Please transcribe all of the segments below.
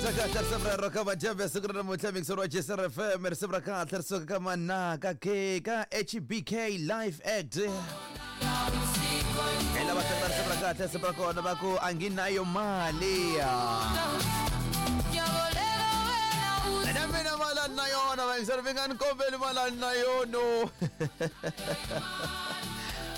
Kahle kahle risimu rero ka madyambe siku ra namuntlha mixer wa JSR FM risimu ra kahle ri suka ka Manaka K ka HBK Live Act hi lava tlanga risimu ra kahle risimu ra kona va ku anginayo mali na mina mali a ni na yona vayingiseri mi nga ni kombeli mali a ni na yono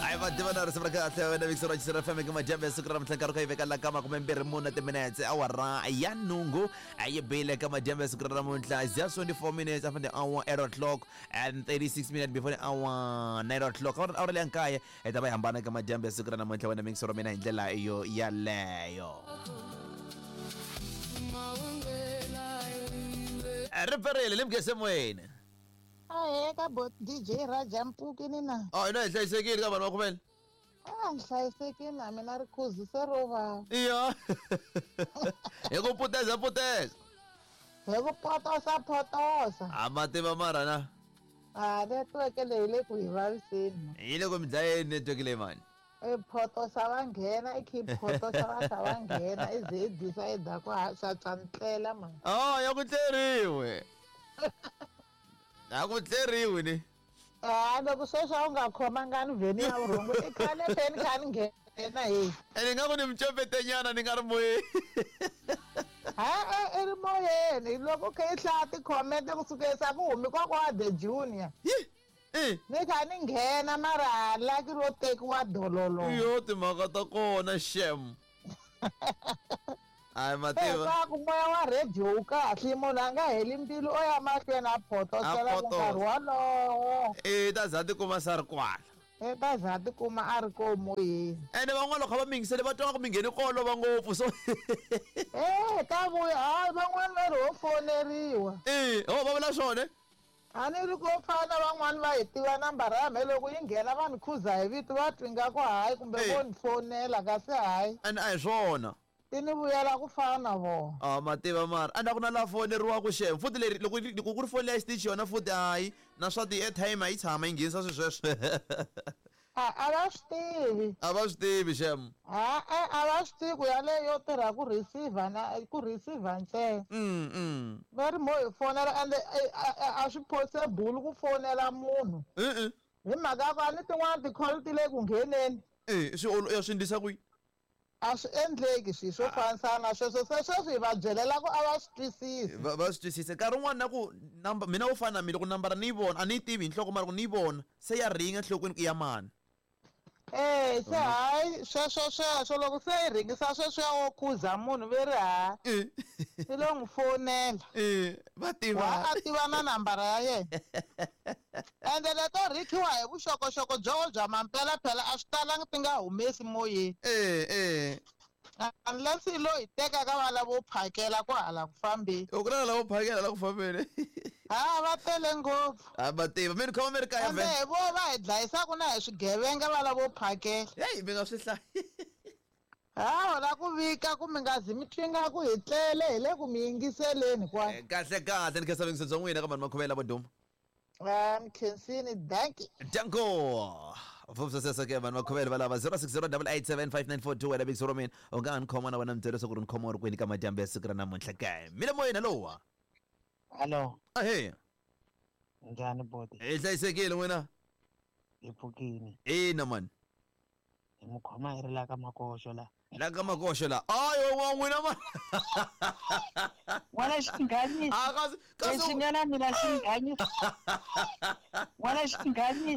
hayi va tiva na risimu ra kahle wena mixer wa JSR FM eka madyambe ya siku ra namuntlha nkarhi ka yi veka la ka 24 timinetse awara ya nhungu a yi bile ka madyambe ya siku ra namuntlha it's just 24 minutes after the hour 8 o'clock and 36 minutes before the hour 9 o'clock awara awara leya nkaye hi ta va hi hambana ka madyambe ya siku ra namuntlha wena mixer wa mina hi ndlela yo yaleyo ri pferile ni mugese moyeni Ahee ka bo DJ Raja Mpfukini na. Oh, ina hi hlayisekile ka vanhu va khumela. A ni hlayisekile na mina ri khuzu se ro vava. Iya. Hi ku puteza puteza. Hi ku potosa potosa. A ma tiva mara na. A network leyi le ku hi vaviseni. Yi le ku mi dlayeni network leyi mani. I photosa va nghena i khi photosa va kha va nghena i ze i decide ku ha swa ntlela mani. Oh, ya ku tleriwe. A ku tleriwi ni. A loko sweswi a wu nga khomangani vheni ya vurhongo i khale se ni kha ni nghena hi. Ene nga ku ni micombetenyana ni nga ri moyeni. Ha-e i ri moyeni loko u kha i hlaya ti-comment ku sukela ku humi kokwa the junior. Yi! Eh. Ni kha ni nghena mara laki ro tekiwa dololo. Yo timhaka ta kona shem. Ai mativa. Leswaku moya wa radio wu kahle munhu a nga heli mbilu o ya mahlweni a photosela ku nkarhi wolowo. Eh ta za tikuma sa ri kwala. Eh ta za tikuma a ri ko moyeni. Ene van'wana loko va mingisele va twa ku mi ngheni ko olova ngopfu so. Eh ta vuya hayi van'wana va ri ho foneriwa. Eh ho va vula swona. A ni ri ko fana van'wani va yi tiva nambara ya mehe loko yi nghena va ni khuza hi vito va twa ingaku hayi kumbe vo ni fonela kasi hayi. And a hi swona. Ti ni vuyela ku fana na vona. Ah ma tiva mara a ku na laha foneriwaka xem futhi leri loko loko ku ri foni leya xitichi yona futhi hayi na swa ti-airtime a yi tshama yi nghenisa swilo sweswo. A a va swi tivi. A va swi tivi xem. Ha-e a va swi tivi ku yaleyo yo tirha ku receiver na ku receiver ntsena. Va ri mo hi fonela ende a swi possible ku fonela munhu. E-e. Hi mhaka ya ku a ni tin'wana ti-call ti le ku ngheneni. E swi swi endlisa ku yini? A swi endleki swilo swo fanisana na sweswo se sweswi hi va byelela ku a va swi twisisi. Va va swi twisisa nkarhi wun'wani na ku number mina wo fana na mina loko nambara ni yi vona a ni yi tivi hi nhloko mara ku ni yi vona se ya ringa enhlokweni ku i ya mani. E se hayi sweswo sweswo loko se yi ringisa sweswiya wo khuza munhu ve ri ha i lo n'wi fonela. Va tiva. Wa a tiva na nambara ya yena. Ende leto rhikhiwa hi vuxokoxoko byo bya mampela phela a swi talangi ti nga humesi moyeni. Eh eh. Unless i lo hi teka ka va lavo phakela ku hala ku fambeni. U ku na lavo phakela la ku fambeni. Ha va tele ngopfu. A va tiva mi ni khoma mi ri kaya Ende hi vo va hi dlayisaku na hi swigevenga va lavo phakela. Hey mi nga swi hlayi. Ha la ku vika ku mi nga zi mi twi nga ku hi tlele hi le ku mi yingiseleni kwala. Kahle kahle ni khensa vuyingiseri bya n'wina ka vanhu va khomela vo duma. Ah, ni khensini danki. Danko. Vupsa sesa ke vanhu va khomela va lava 0608875942 wena big soro mina u nga ni khoma na wena mi byela leswaku ri ni khoma u ri kwini ka madyambu ya siku ra namuntlha ke. Mi le moyeni hello. Hello. Ahee. Njhani boti? Hi hlayisekile n'wina? Hi pfukini. Ina mani. Hi mu khoma hi ri la ka makoxo la. La ka makoxo la. Ayo wa n'wina ma. N'wana xinghanyisi. Ah kasi kasi Lexi nga na mina xinghanyisi. N'wana xinghanyisi.